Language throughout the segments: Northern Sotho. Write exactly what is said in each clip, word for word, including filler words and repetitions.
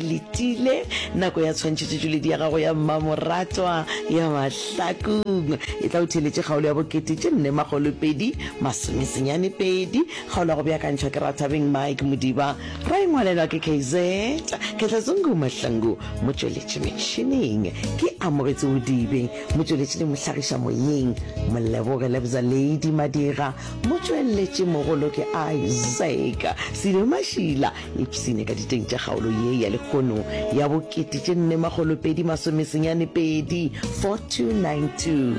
Letile nako ya tshwantšhetšotšweledi ya gago ya mmamoratwa ya Mahlakung. E tla o theeletše kgaolo ya bokete tše nne makgolo pedi masome senyane pedi. Kgaolo ya go beakantšhwa ke Rathabeng Mike Modiba, ra e ngwalelwa ke K Z Kehla Zungu Mahlangu. Motšweletši metšhineng ke Amogetsi Bodibe, motšweletši le mohlagiša moyeng Moleboge Lebza Lady Madira, motšweletši mogolo ke Isaac Silo Mašila. Ipshine ka diteng tša kgaolo ye ya lehono ya bokete tše nne makgolo pedi masome senyane pedi, four two nine two.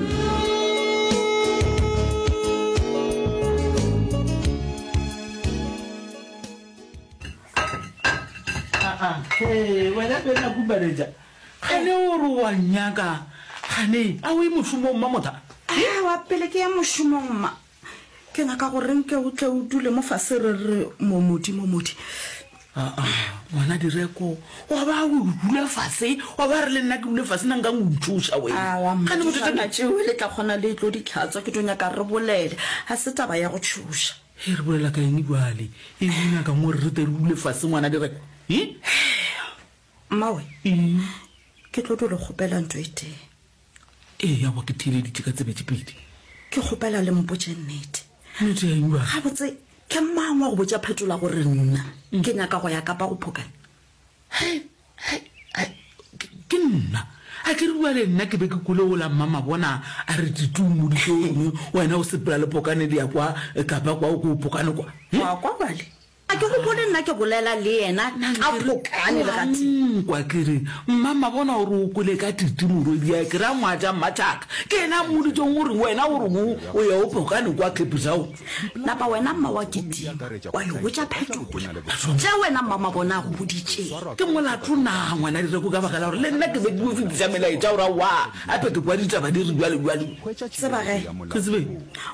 Aa, hee, wena Bena Kubareja, gane o re wa nnyaka, gane a o ye mošomong Mamotha? Aowa, pele ke ya mošomong mma, Ke nyaka gore nke o tle o dule mo fase re re momodi momodi. Aa, ngwana Direko, wa ba o dula fase, wa ba re le nna ke dule fase, na nka o ntšhoša wena? Aowa, Gane bothata mma, ke. tšeo le tla kgona le tlo di hlatswa, ke tlo nyaka re bolele, ga se taba ya go tšhoša. Hei, re bolela ka eng bjale? Eng o nyakang gore re tle re dule fase, ngwana Direko? He? Mmawe, Eng? ke tlo dula kgopela ntho e tee. Ee, aowa, ke theeleditše ka tsebe tše pedi. Ke kgopela le mpotše nnete. Nnete ya eng bjale? Gabotse, ke mang wa go botša Phetola gore nna ke nyaka go ya Kapa go Phokane? Hei, hei, hei, ke, ke nna. A ke re bjale nna ke be ke kwele wola Mmamabona a re Titi o mmoditše o reng wena o sepela le Phokane le ya kwa Kapa kwa o ko Phokane kwa. He? Wa kwa bjale? A ke gopole nna ke bolela le yena ka Phokane le gatee. Nkwa ke re, Mma Mabona o re o kwele ka Titi morwediae, ke ra ngwaja Mmatšhaka. Ke yena a mmoditšeng gore wena o re o o ya o Phokane kwa Cape Town. Napa wena mma wa kitima wa yo botša Phetola tše wena mma Mabona a go boditšeng. Ke molato na ngwana Direko ka baka la gore le nna ke be ke yo fetiša melaetša gore aowa gape ke kwa ditaba di re bjale bjale. Tseba ge. Ke tsebe.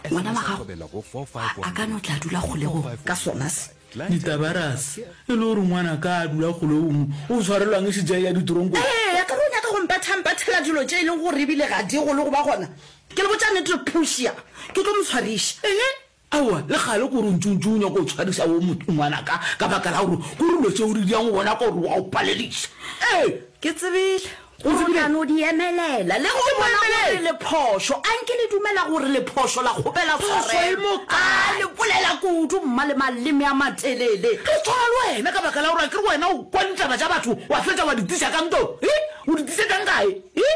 Ngwana wa gago a ka no tla dula kgolegong ka sona se. Ditabarase, e le gore ngwanaka a dula kgolegong o tshwarelwang e šetše a eya ditoronkong? Ee, akere o nyaka go mpethampethela dilo tše e leng gore ebile ga di gole go ba gona. Ke le botša nnete Portia, ke tlo mo tshwariša. Eng? Aowa, le kgale kore o ntše o ntše o nyaka go tshwariša wo ngwanaka ka baka la gore kore dilo tše o di dirang o bona ka gore wa o palediša. Ee! Ke tsebile gore o tla no di emelela. Le ge o bona gore le phošo, a nke le dumela gore le phošo la kgopela tshwarelo. A le bolela kudu, mma, le maleme a matelele. Re tshwana le wena ka baka la gore akere wena o kwa ditaba tša batho wa fetša wa di tliša ka ntong. He? O di tlišetšang gae? He?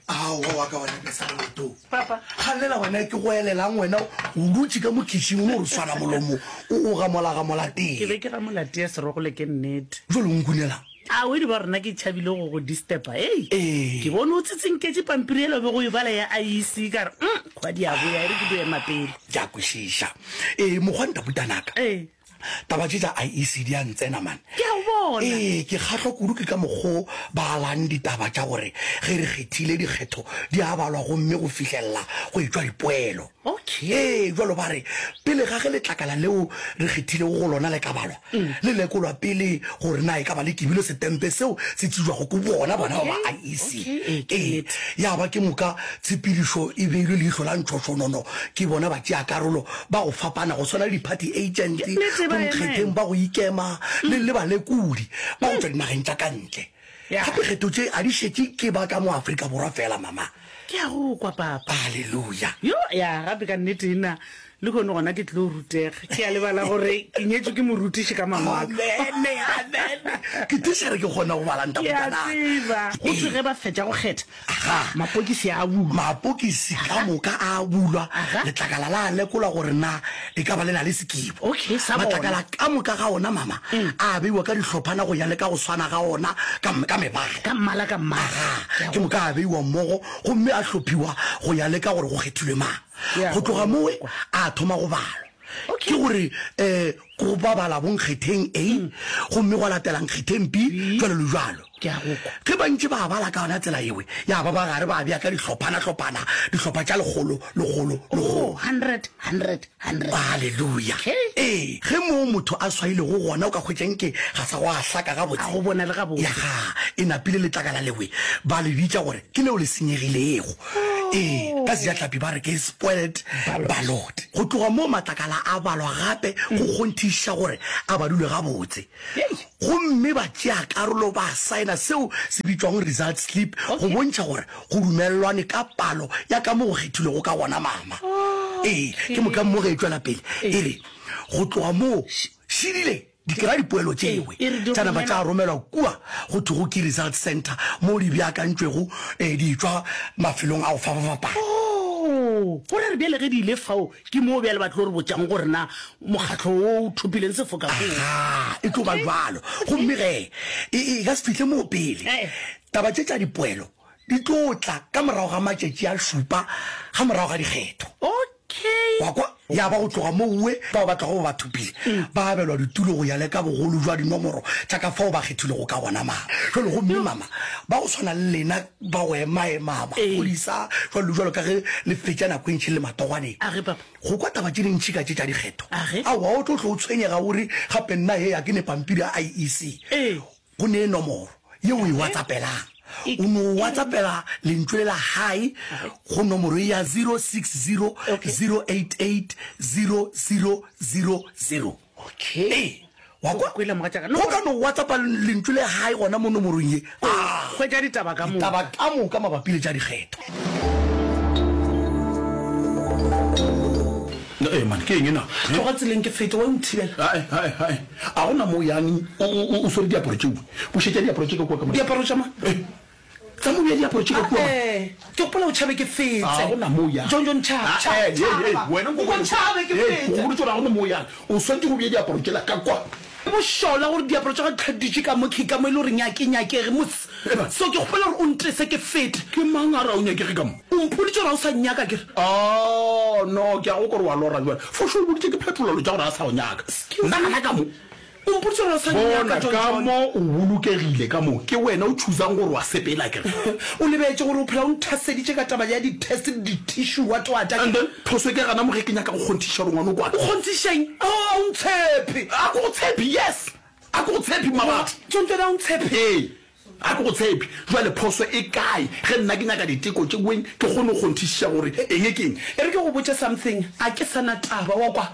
Aowa wa ka wena Besana Leto. Papa. Galela wena ke go elelang wena o dutše ka mo kitchen o no re swana molomo o o gamola gamola tee. Ke be ke gamola tee serogole ke nnete. Jwale o nkunelang? A o di ba rena ke tšhabile go go disturba hei. Ee. Ke bone o tsitsinketše pampiri yela o bego o e bala ya I E C ka re umm kgwadi ya boya e re ke dio ema pele. Ke a kwešiša. Ee mokgwa ntaputanaka. Ee. Taba tše tša I E C di a ntsena man. Ke a go bona. Ee, ke kgahlwa kudu ke ka mokgo ba alang ditaba tša gore ge re kgethile dikgetho di a balwa gomme go fihlelela go etšwa dipoelo. Okay. Ee, bjalo ba re pele ga ge letlakala leo re kgethilego go lona le ka balwa, le lekolwa pele gore na e ka ba le kibilo setempe seo se tsebjwago ke bona bona ba ba I E C. Okay, ee, ke Ee, nnete. ya ba ke moka tshepedišo e beilwe leihlo la ntšhošonono ke bona batšeakarolo ba go fapana go swana le di-party agent, Ke nnete, ba bonkgetheng emela. ba go ikema le, le balekodi ba go tšwa dinageng tša ka ntle. Ya. Gape kgetho tše a di šetše ke ba ka mo Afrika Borwa feela, mama. Ke a go kwa, papa. Haleluya. Yo, ya, gape ka nnete nna lehono gona ke tlo rutega. Ke a lebala gore ke nyetšwe ke morutiši ka mangwalo. Amene, amene. Ke tišere ke kgona go bala Ke a ntabotanaka. tseba. Go thwe ge ba fetša go kgetha, Aga. Mapokisi a bulwa. Mapokisi ka moka a bulwa. Aga. Letlakala la lekolwa gore na e ka ba le na le sekibo. Okay, sa bona. Matlakala ka moka ga ona, mama, a beiwa ka dihlophana go ya le ka go swana ga ona ka, ka mebala. Ka mmala, ka mmala. Aga. Ke moka a beiwa mmogo gomme a hlophiwa go ya le ka gore go kgethilwe mang. Ke a Go tloga mowe kwa. a thoma go balwa. Okay. Ke gore um go ba bala bonkgetheng A, gomme gwa latela nkgetheng B, bjalo le bjalo. Ke a go kwa. Ge ba ntše ba bala ka yona tsela yeo, ya ba ba gare ba bea ka dihlophana-hlophana, dihlopha tša lekgolo, lekgolo, lekgolo. Oh, hundred, hundred, hundred. Haleluya! Okay. Ee, ge moo motho a swailego gona o ka hwetša nke ga sa gwa hlaka gabotse. A go bonale gabotse. Ya ga, e napile letlakala lewe, ba le bitša gore ke leo le senyegilego. Ee, ka sejatlhapi ba re ke spoiled ballot. Go tloga moo matlakala a balwa gape go kgonthišiša gore a badilwe gabotse. Gomme batšeakarolo ba saena seo se bitšwago result slip go bontšha gore go dumelelwane ka palo ya ka mo go kgethilwego ka gona mama. Ee, ke moka mo ge e tšwela pele e re go tloga moo šidile di kry-a dipoelo tšewe tša napa tša romelwa kua go thwego ke result centre moo di beakantšwego di etšwa mafelong a go fapafapana. Oo, go ra re bjale ge di ile fao ke moo bjale ba tlo re botšang gore na mokgatlo wo o thopileng sefoka ke ofe. Agaa, e tlo ba bjalo. Gomme ge e, e ka se fihle moo pele, taba tše tša dipoelo di tlo tla ka morago ga matšatši a šupa ga morago ga dikgetho. Okay. Wa kwa? Ya ba go tloga mowe bao ba tlago ba thopile ba abelwa ditulo go ya le ka bogolo jwa dinomoro tša ka fao ba kgethilwego ka gona. Mama, jwale gomme mama, ba go swana le lena ba go emaema, maphodisa, jwalo le jwalo, ka ge le fetša nako e ntši le matogwaneng, A ge, papa. go kwa taba tše dintši ka tše tša dikgetho. A ge. Aowa, o tlo tlo o tshwenyega o re, Gape nna hee, ga ke ne pampiri ya I E C. Ee. Go ne nomoro ye o e whatsappelang. O no whatsappela lentšu le la hi go nomoro ye ya zero six zero zero eight eight zero zero zero zero. Okay. Ee, wa kwa? Kwele mogatšaka. Go ka no whatsappa lentšu le hi gona mo nomorong ye. Ah, Hwetša ditaba ka moka. Ditaba ka moka mabapi le tša dikgetho. Ee man, ke eng na? Tloga tseleng ke fete, wa o nthibela. Ae, ae, ae. A gona mo yang o, o, o swere diaparo tšeo. Bušetša diaparo tše ka kua ka mo. Diaparo tša mang? Eh, tsa mo bea diaparo tše ka kua. Ae, ke gopola o tšhabe ke fete. A gona mo yang. John, John, tšhaba, tšhaba, Ae, tšhaba. hei, wena nko Nko tšhabe ke Hei, fete. go boditše gore a gona mo yang. O swanetše go bea diaparo tšela ka kwa. Ke bošola gore diaparo tša gagwe di dutše ka mo ke ka mo e le gore nyake nyakege mos. So ke kgopela gore o ntese ke fete. Ke mang a re a o nyakege ka mo? O mpoditše gore ga o sa nnyaka ke re. Oh no, ke a go kwa gore wa lora bjale. For sure o boditše ke phetolelo tša gore a sa go nyaka. Nna gana ka mo. O mpoditše gore ga o sa nnyaka Bona John ka John. mo o bolokegile ka mo. Ke wena o choosang gore wa sepela ke re. O lebetše gore o phela o nthaseditše ka taba ya di-test le di-tissue what what. And then phoso ke gana mo ge ke nyaka go kgonthiša gore ngwana o kwa. O kgonthiša eng? Oh, a o ntshepe. A ke go tshepe, yes. A ke go tshepe mmabatho. John John a o ntshepe. Ee. A ke go tshepe. Jwale phoso e kae ge nna ke nyaka diteko tše weng ke kgone go kgonthišiša gore eng ke eng? E re ke go botše something, a ke sa na taba, wa kwa?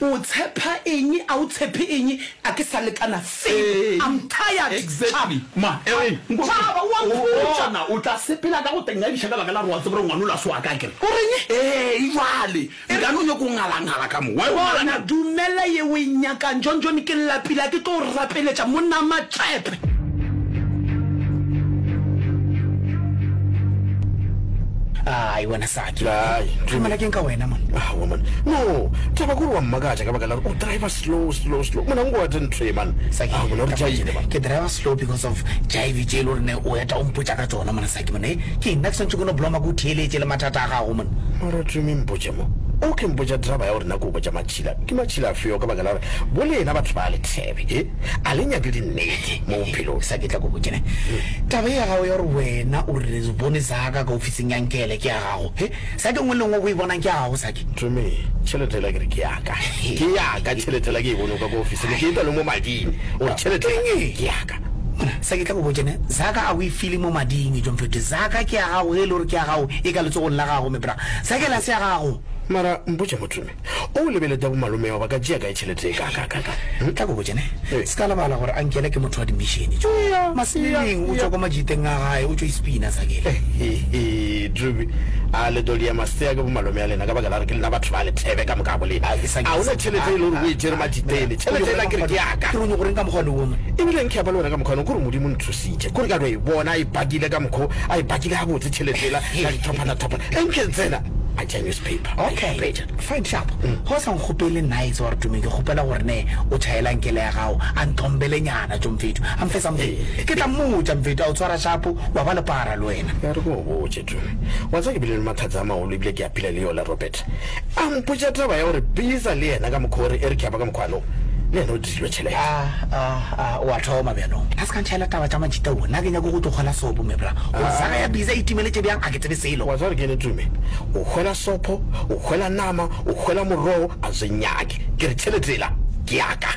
O tshepa eng, a o tshepe eng, a ke sa lekana selo. I'm tired. Exactly. Ma, e re, nko- Tšhaba, o a mpotša. Bona, o tla sepela ka go tengadiša ka baka la gore wa tseba gore ngwana o la se wa ka, akere? O reng? Ee, jwale. Nka no nyako ngalangala ka mo. Why o Bona, ngalangala? dumela ye o e nyakang. John John, ke lapile, a ke tlo o rapeletša, monna Matšepe. Ai wena Saki. Ai, Tlamela keng ka wena man? Aowa man. No, taba kore wa mmakatša ka baka la gore o driver slow slow slow. Mona nko wa ntho e man. Saki, Ah, mona re jaile man. Ke driver slow because of jive tše e le gore ne o eta o mpotša ka tšona mona Saki mona. Eh, ke nna ke swantše ke no bloma ke o theeletše le mathata a gago mona. Mara Tumi mpotše mo. O ke mpotša draba ya gore nna ke o botša matšhila. Ke matšhila afeo ka baka la gore bo lena batho ba lethebe, eh? A le nyake dinnete mo bophelong. Saki tla ko botše ne. Taba e ya gago ya gore wena o re bone zaka ka ofising ya Nkele ke ya gago. He, Saki nngwe le nngwe o e bonang ke ya gago Saki. Tumi, tšhelete la ke re ke ya ka. Ke ya ka tšhelete la ke e bone ka ko ofising. Ke e tla le mo mading. Gore tšhelete ke ya ka. Mona, Saki tla go botše ne, zaka a o e file mo mading John Fete. Zaka ke ya gago ge e le gore ke ya gago e ka letsogong la gago me bra. Saki la se ya gago. Mara mpotše mo Tumi, o lebelete bo malome ba ka tšea kae tšhelete e ka ka ka ka? Tla go botše ne, Ee. se ka lebala gore Ankele ke motho wa di-mission jo. Maseleng o tšwa kwa majiteng a gae, o tšwa Ispina Sakele. Hehe, Tumi, a le tlo dia masea ke bo malome a lena ka baka la gore ke lena batho ba lethebe ka moka bo lena. Ai, Sakele, A ona Sakele. tšhelete e le gore o e tšere majitele. Tšhelete ela ke re ke ya ka. Ke re o nyoko reng ka mokgwa wo man? Ebile nke ya ba le wena ka mokgwa kore Modimo nthusitše. Kore ka no e bona a e pakile ka mokgwa, a e pakile gabotse tšhelete ela ka dithophana-thophana. Enke tsena a tšea newspaper. Okay, fine sharp. Go sa nkgopele nice gore Tumi ke kgopela gore ne o tšhaela nkele ya gago a nthombele nyana jo mfetho. A mfe something. Ke tla mmotša mfetho a o tshwara sharp wa ba le para le wena. Ya re ko o botše Tumi. Wa tseba ke bile le mathata a magolo ebile ke a phela le yola Robert. A mpotša taba ya gore Bisa le yena ka mokgwa o re e re ke ya ba ka mokgwa no. Le yena o dirilwe tšhelete. Ah, ah, ah, o a thoma bjanong. A se ka ntšhaela taba tša majita o. Nna ke nyako go tlo kgwela sopo me bra. Gore zaka ya Bisa e timeletše bjang a ke tsebe selo. Wa tseba gore ke ene Tumi. O hwela sopho, o hwela nama, o hwela morogo, a se nyake. Ke re tšhelete ela ke ya ka.